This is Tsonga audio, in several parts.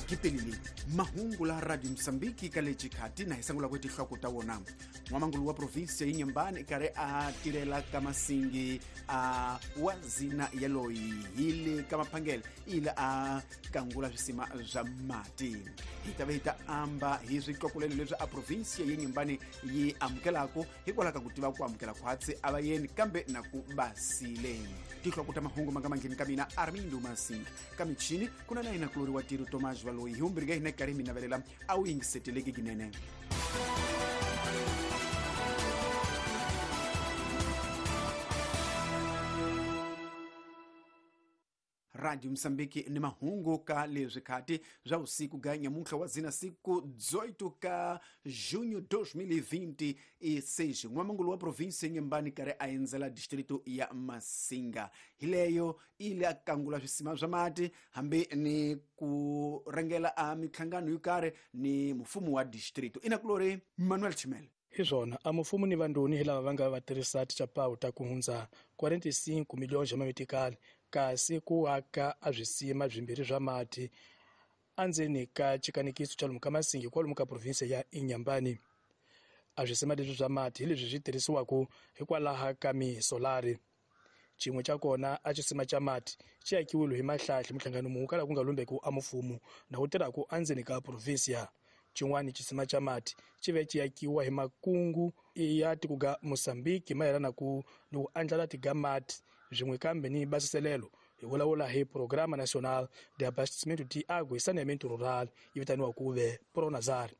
Gipelile mahungu la Radio Msambiki ka lexi khati na hi sangula ku tihloko ta wona. N'wamangulu wa provinsi ya Inhambane karhi a tirhela ka Masingi a wa zina ya loyi hi le ka Maphangele ile a kangula swisima swa mati. Hi ta ve hi ta amba hi switlokolelo leswi a provinsi ya Inhambane yi amukelaku hikwalaho ka ku tiva ku amukela khwatsi a va yeni kambe na ku basile. Tihloko ta mahungu ma nga mangheni ka mina Armindo Masingi ka michini ku na na yena kulori wa tiro Tomás Valoyi hi vumbirhi ka hina karhi mi navelela a wu yingiseteleki kinene. Radio Msambiki ni mahungu ka leswi khati swa usiku ga nyamuntlha wa zina siku 18 ka junho 2026. N'wamangulu wa provinsi ya Inhambane karhi a endzela distrito ya Masinga. Hi leyo ile a kangula swisima swa mati hambi ni ku rhangela a minhlangano yo karhi ni mfumo wa distrito. Inakulori Manuel Chimele. Hi swona a mufumo ni vandoni hi lava va nga va tirhisa tichapawu ta ku hundza 45 miliyoni xa mametikali kasi ku aka a swisima swimbirhi swa mati endzeni ka xikanikiso xa lomu ka Masingi kwalomu ka provinsi ya Inhambane. A swisima leswi swa mati hi leswi swi tirhisiwaka hikwalaho ka misolari. Xin'we xa kona a xisima xa mati xi akiwile hi mahlahli muhlangano munhu kala ku nga lumbeki a mufumo na wu tirhaka endzeni ka provinsi. Xin'wana xisima xa mati xi ve xi akiwa hi makungu ya tiko ga Mozambique mayelana ku ni ku andlala tiga mati swin'we kambe ni basiselelo. Hi vulavula hi Programa Nacional de Abastecimento de Água e Saneamento Rural yi vitaniwa ku ve Pronazar.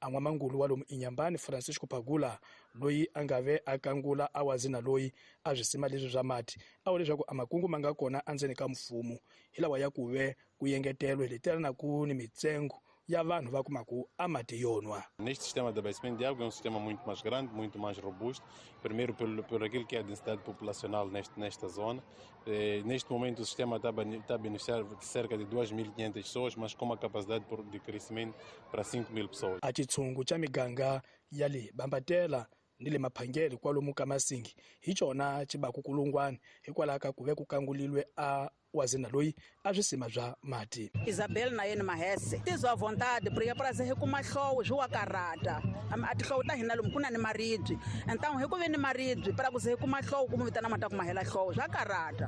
A n'wamangulu wa lomu Inhambane Francisco Pagula loyi a nga ve a kangula a wazina loyi a swisima leswi swa mati a vula leswaku a makungu ma nga kona endzeni ka mfumo hi lawa ya ku ve ku engetelwe hi letela na ku ni mitsengo ya vanhu va kumaku a mati yo nwa. Neste sistema de abastecimento de água é um sistema muito mais grande, muito mais robusto, primeiro por aquilo que é a densidade populacional nesta zona. Neste momento o sistema está a beneficiar de cerca de 2.500 pessoas, mas com uma capacidade de crescimento para 5.000 pessoas. A xitshungu xa miganga ya le Bambatela ni le Maphangele kwalomu ka Masingi hi xona xi baku kulungwana hikwalaho ka ku ve ku kangulilwe a wazina loyi a swisima swa mati. Isabel na yena Mahese tizwa vontade porque para se kuma hlowo swi wa karata a tihlowo ta hina lomu ku na ni maribye então hi ku ve ni maribye para ku se kuma hlowo ku mu vitana mata ku mahela hlowo swa karata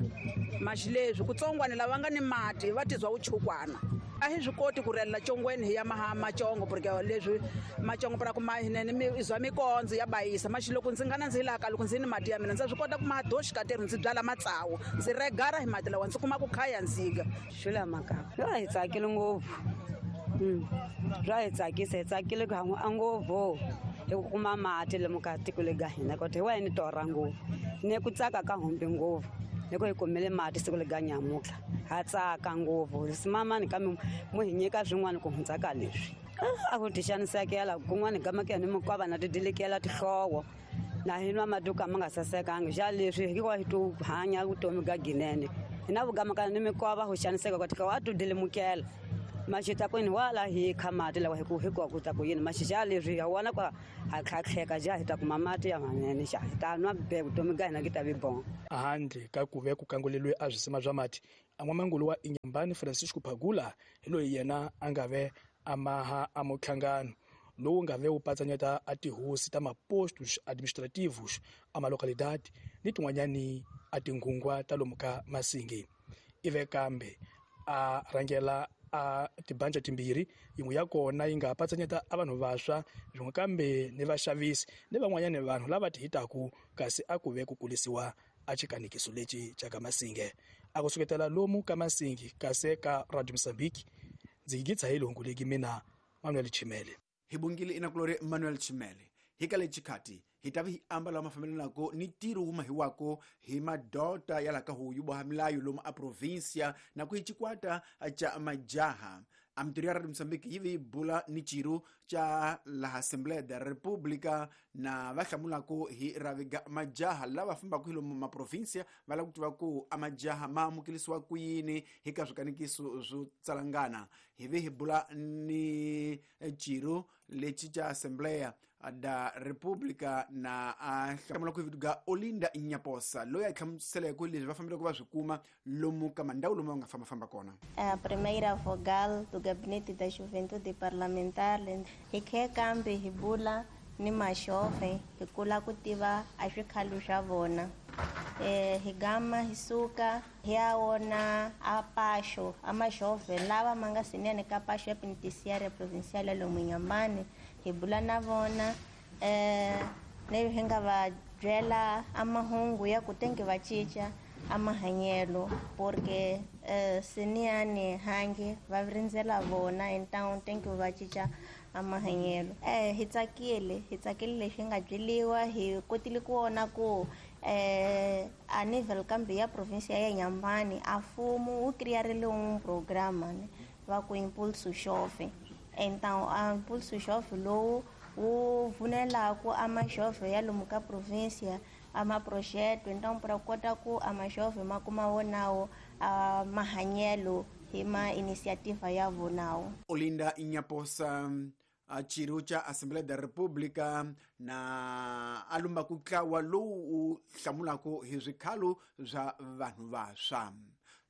maxileswi kutsongwana lava nga ni mati va tizwa uchukwana a hi swi koti ku rhela chongweni hi ya macongo porque leswi macongo para ku mahinene mi izwa mikondzo ya bayisa maxiloko ndzi nga na ndzi laka loko ndzi ni mati ya mina ndza swi kota ku madoxi katerhi ndzi byala matsawu ndzi regara hi mati lawa ndzi kuma ku khaya ndzika. Xula makapa ra hi tsakile ngopfu. Ra hi tsakisa hi tsakile ku han'wa ngopfu hi ku kuma mati lomu ka tiko le ga hina koti hi wa ni torha ngopfu ni ku tsaka ka humbi ngopfu loko hi kumile mati siku le ga nyamutlha ha tsaka ngopfu simamani ka mu hi nyika swin'wana ku hundza ka leswi a ku tixanisekela kun'wana gamaka ni mikwava na tidilikela tihlowo na hi nwa maduka ma nga sasekangi xa leswi hikuva hi tu hanya vutomi ga ginene hi na vugamaka ni mikwava ku xaniseka ka tihlowo a tu dilimukela maxita kwini wala hi kha mati lawa hi ku hikuva ku ta ku yini maxixa leswi ha wona kwa ha tlhatlheka ja hi ta kuma mati ya manene xa hi ta nwa be vutomi ga hina ki ta vi bon. Handle ka ku ve ku kanguleliwe a swisima swa mati a n'wamangulu wa Inhambane Francisco Pagula hi loyi yena a nga ve a maha a muhlangano lowu nga ve wu patsanyeta a tihosi ta mapostos administrativos a malocalidade ni tin'wanyani a tinghungwa ta lomu ka Masingi. Ive kambe a rhangela a tibanja timbirhi yin'we ya kona yi nga patsanyeta a vanhu vantshwa swin'we kambe ni vaxavisi ni van'wanyani vanhu lava ti hitaku kasi a ku ve ku kulisiwa a xikanikiso lexi xa ka Masinge. A ku suketela lomu ka Masingi kasi ka Radio Mozambique ndzi yigitsa hi lehungu leki mina Manuel Chimele. Hi bongile inakulori Manuel Chimele. Hi ka lexi khati hi ta vi hi ambala mafambelanako ni ntirho wu mahiwako hi madota ya laha ka huyu boha milayo lomu a provinsia na ku hi xikwata xa majaha. A mintirho ya Radio Mozambique yi vi yi bula ni xirho xa laha Assembleia da República Na va hlamulaku hi raviga majaha lava fambaka hi lomu maprovinsia va lava ku tiva ku a majaha ma amukelisiwa ku yini hi ka swikanikiso swo tsalangana. Hi ve hi bula ni ciro lexi ca Assembleia da República na a hlamula ku hi Olinda Nyaposa loyi a hlamuseleke leswi va fambeleke va swi kuma lomu ka mandhawu lomu va nga fambafamba kona. A primeira vogal do Gabinete da Juventude Parlamentar hi khe kambe hi bula ni maxove hi kula ku tiva a swikhalo swa vona. Hi gama hi suka hi ya wona a paxo a maxove lava ma nga sinene ka paxo ya penitenciária provincial ya lomu Inhambane, hi bula na vona leyi hi nga va byela a mahungu ya ku tenge va cinca a mahanyelo porque siniyani hangi va rindzela vona então tenge va cinca a mahanyelo. Hi tsakile leswi nga byeliwa, hi kotile ku vona ku a nível kambe ya província ya Inhambane a mfumo wu criarile um programa va ku Impulso Jovem. Então a Impulso Jovem lowu wu pfunelaku a majovem ya lomu ka província a maprojeto, então para kota ku a majovem ma kuma wonawo a mahanyelo hi ma iniciativa ya vonawo. Olinda Nyaposa a ciro ca Assembleia da República na a lumba ku tlawa lowu wu hlamulaku hi swikhalo swa vanhu vantshwa.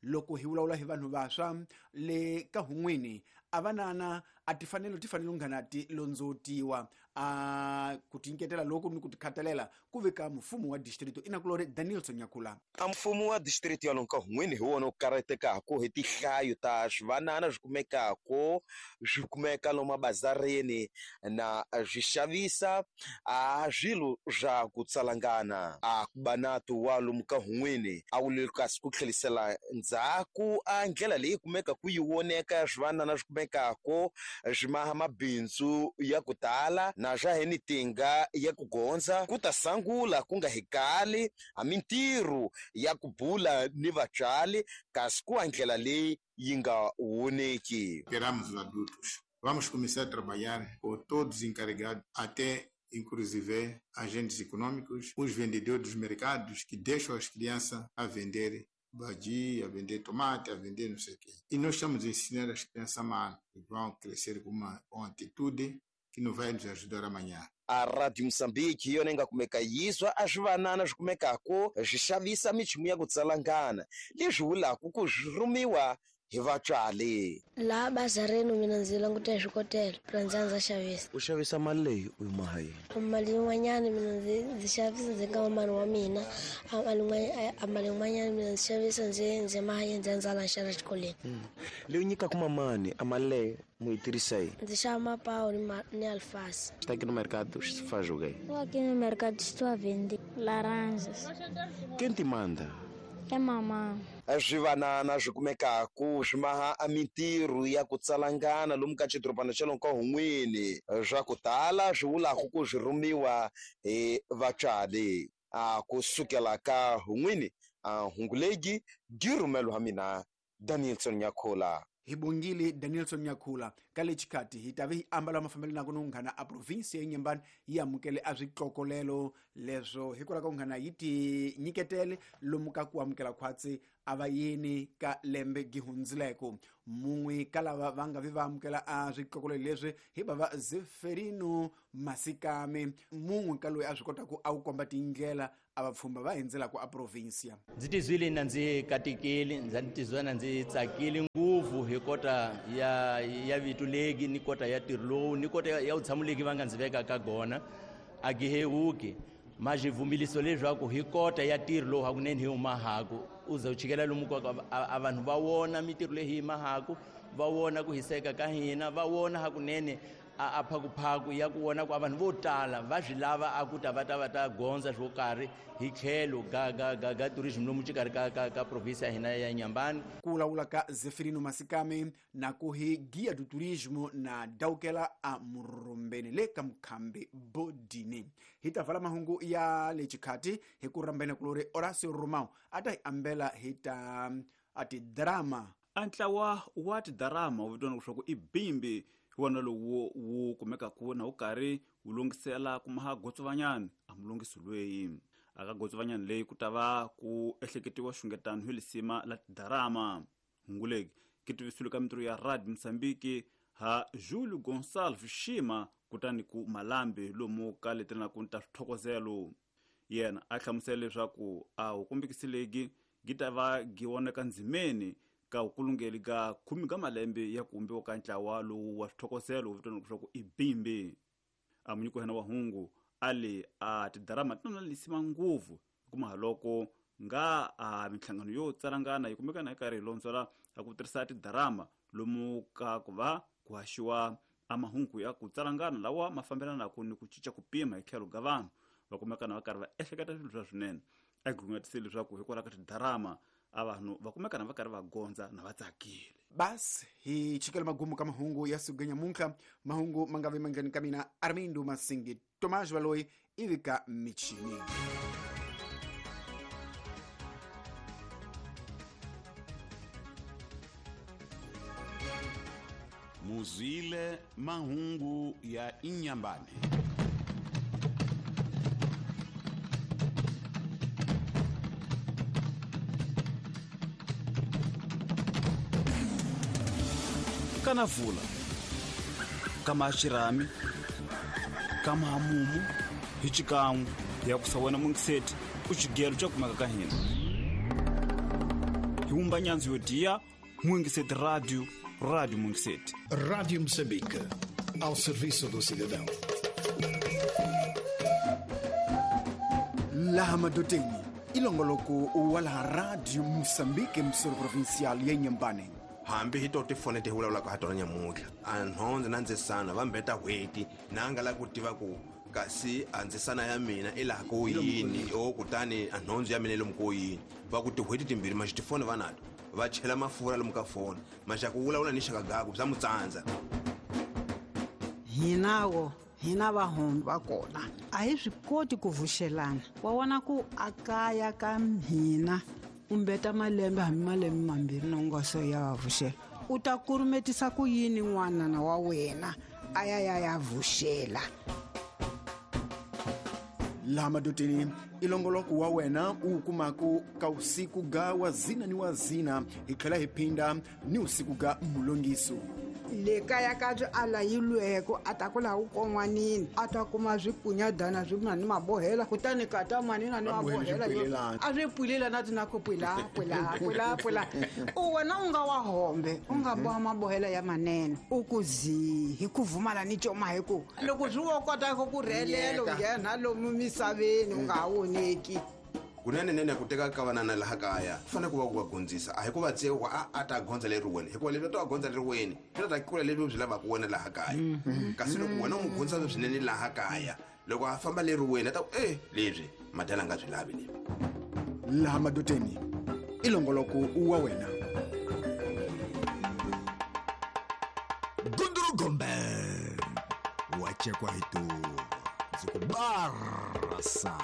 Loko hi vulavula hi vanhu vantshwa le ka hun'wini a vanana a tifanelo lunghana ti londzotiwa a ku tinyiketela loko ni ku tikhatalela ku veka mfumo wa distrito inakulori Danielson Nyakula. A mfumo wa distrito ya lomu ka hun'wini hi wona wu karhatekaku hi tihlayo ta swivanana swi kumekako swi kumeka lomu mabazarini na swi xavisa a swilo swa ku tsalangana. A ku banato wa lomu ka hun'wini a wu le kasi ku tlhelisela ndzhaku a ndlela leyi kumeka ku yi voneka swivanana swi kumekako swi maha mabindzu ya ku tala na swa hi ni tinga ya ku gondza ku ta sangula ku nga hikali a mintirho ya ku bula ni vatswari kasi ku a ndlela leyi yi nga voneki. Queremos os adultos. Vamos começar a trabalhar com todos os encarregados, até inclusive agentes econômicos, os vendedores dos mercados que deixam as crianças a vender badia, a vender tomate, a vender não sei o quê. E nós estamos a ensinar as crianças mal, que vão crescer com uma atitude que não vai nos ajudar amanhã. A Rádio Moçambique yona yi nga kumeka yizwa a swivanana swi kumekako swi xavisa michumu ya ku tsalangana leswi vulaka ku swi rhumiwa hi vatswari. Laha bazareni mina ndzi languta hi swikotela pra ndzi ndza xavisa. U xavisa mali leyi u yi maha yini? Mali yin'wanyana mina ndzi xavisa ndzi nga mali wa mina, a mali yin'wanyana mina ndzi xavisa ndzi maha ndzi ndza la xava xikolweni. Leyi nyikaka mamani a mali leyi mu yi tirhisa yini? Ndzi xava mapawu ni alface. Está aqui no mercado, faz o quê? Estou aqui no mercado, estou a vender laranjas. Quem te manda? É mamã. Swivanana swi kumekaku swi maha a mintirho ya ku tsalangana lomu ka xidorobana xa lomu ka hun'wini swa ku tala swi vulaku ku swi rhumiwa hi vatswari. A ku sukela ka hun'wini a hungulegi di rhumelo ha mina Danielson Nyakula. Hi bongile Danielson Nyakula ka le xikati hi ta ve hi ambala mafambelano na unghana a province ya Inhambane yi amukele a switlokolelo leswo hikwalaho ka unghana yi ti nyiketele lomu ka ku amukela khwatsi a va yini ka lembe gihundzileko. Mun'we ka lava va nga vi va amukela a switlokolelo leswi hi bava Zeferino Masikame, mun'we ka loyi a swi kotaka a wu komba tindlela a vapfhumba va hindzelaka a provinsia. Ndzi tizwile na ndzi katekile, ndza tizwa na ndzi tsakile ngopfu hi kota ya vito legi ni kota ya ntirho lowu ni kota ya vutshamo legi va nga ndzi veka ka gona a gihewuki ma xivumbiliso leswaku hi kota ya ntirho lowu hakunene hi humahaku u ze u chikela lomu ka a vanhu va vona mintirho leyi hi mahaku, va vona ku hiseka ka hina, va vona hakunene a phakuphaku ya ku vona ku a vanhu vo tala va swi lava a ku ta va ta va ta gondza swo karhi hi tlhelo ga tourism lomu xikarhi ka province ya hina ya Inhambane. Ku vulavula ka Zeferino Masikame na ku hi guia do turismo na daukela a Murumbeni le ka Mukhambi Bodini. Hi ta vala mahungu ya le xikhati hi ku rhambena kulori Horacio Romão a ta hi ambela hi ta a tidrama. A ntlawa wa tidrama wu vitaniwa leswaku i Bimbi Hi wona lowu wu kumekaku na wu karhi wu lungisela ku maha gotsovanyani a mulungisi lweyi. Aka gotsovanyani leyi ku ta va ku ehleketiwa xungetano hi lisima la tidarama. Hunguleki ki tivisiwile ka mintirho ya Radio Mozambique ha Julio Gonçalves Shima kutani ku Malambe lomu ka letelanaku ta swithokozelo. Yena a hlamusela leswaku a wu kombekisileki gi ta va gi voneka ndzimeni ka vukulungeli ka 10 ka malembe ya ku vumbiwa ka ntlawa lowu wa swithokozelo wu vitaniwaka leswaku i Bimbi. A munyiki wa hina wa hungu a le a tidarama ti na lisima ngopfu hikuva haloko nga a minhlangano yo tsalangana yi kumeka na yi karhi yi londzela a ku tirhisa tidarama lomu ka ku va ku haxiwa a mahungu ya ku tsalangana lawa ma fambelanaka ni ku cinca ku pima hi tlhelo ka vanhu va kumeka na va karhi va ehleketa swilo swa swinene. A gungatisile leswaku hikwalaho ka tidarama a vanhu va kumeka na va karhi va gondza na va tsakile. Basi hi chikela magumu ka mahungu ya siku nyamuntlha. Mahungu ma nga vi mandleni ka mina Armindo Masingi Tomás Valoyi ivi ka michini. Muzwile mahungu ya Inyambane. Kana vula kama xirami kama hamumu hi xikan'we ya ku sa wena mungiseti u xigelo xa kumeka ka hina. Hi wumba nyandzu yo diya Mungiseti Radio, Rádio Mungiseti. Rádio Moçambique, ao serviço do cidadão. Laha madoteni ilongoloko wa laha Radio Moçambique msoro provincial ya Inhambane. Hambi hi to tifoni ti vulavulaka ha tona nyamuntlha a nhondze na ndzisana va mbeta n'hweti na nga la ku tiva ku kasi a ndzisana ya mina i laha ko yini o kutani a nhondze ya mina i lomu ko yini. Va ku tin'hweti timbirhi maxi tifoni va nato va chela mafurha lomu ka foni maxaku vulavula ni xaka gaku bya mutsandza. Hinawo hina vahombi va kona a hi swi koti ku vuxelana. Wa vona ku a kaya ka hina u mbeta malembe hambi malembe mambirhi na u nga se ya va vuxela. U ta kurumetisa ku yini n'wanana wa wena a ya ya ya vuxela? Laha madoteni ilongoloko wa wena u kumaku ka usiku ga wazina ni wazina hi tlhela hi phinda ni usiku ga mulongiso. Le kaya ka byi alayilweko a ta ku laha u kon'wanini a ta kuma swikunyadana swi na ni mabohela kutani ka ta manina ni mabohela a swi pwilela na ti na ku pwila pwila pwila pwila. U wena u nga wa hombe u nga boha mabohela ya manene u ku zi hi ku vumala ni coma hi ku loko swi wo kota ku rhelela u nghena lomu misaveni u nga ha voneki. Kunene nene ku teka ka vanana laha kaya ku fanele ku va ku va gondzisa a hi ku va tsewa a ta gondza leriweni hikuva leswi a ta va gondza leriweni swi ta kula leswi byi lavaka wena laha kaya. Kasi loko wena u n'wi gondzisa swinene laha kaya loko a famba leriweni a ta ku leswi madala nga byi lavi leswi. Laha madoteni ilongoloko wa wena. Gundurugombe wachekwa hituva ndzi ku barasa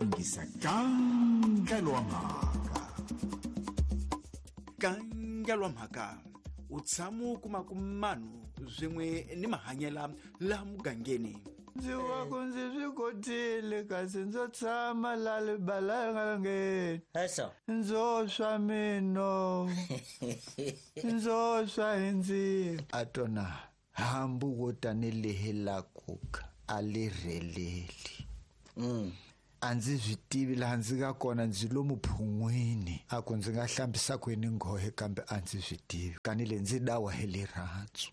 ingisa kangelwa mhaka. Kangelwa mhaka u tshama u kuma ku manu swin'we ni mahanyela laha mugangeni. Ndzi wa ku ndzi swi kotile kasi ndzo tshama la libalangeni. Ndzo swa mino ndzo swa hi ndzilo. A tona hambi wo tanihi la kuka a li rheleli. A ndzi swi tivi laha ndzi nga kona ndzi lomu phun'wini a ku ndzi nga hlambisa kwini nghohe kambe a ndzi swi tivi kani le ndzi dawa hi rirhandzu.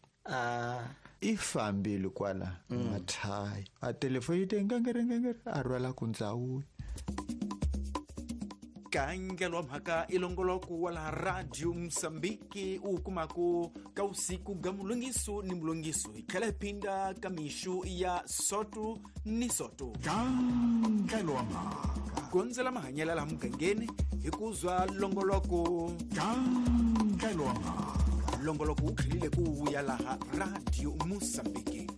I fambile kwala mathayi a telefoni yi te ngengere a rhwala ku ndzawuya. Kangelwa mhaka ilongoloko wa laha Radio Mozambique u kumaku ka usiku ga mulongiso ni mulongiso hi tlhela hi phinda ka mixu ya soto ni soto. Kangelwa mhaka gondzela mahanyela laha mugangeni hi ku zwa longoloko. Kangelwa mhaka longoloko wu tlhelile ku vuya laha Radio Mozambique.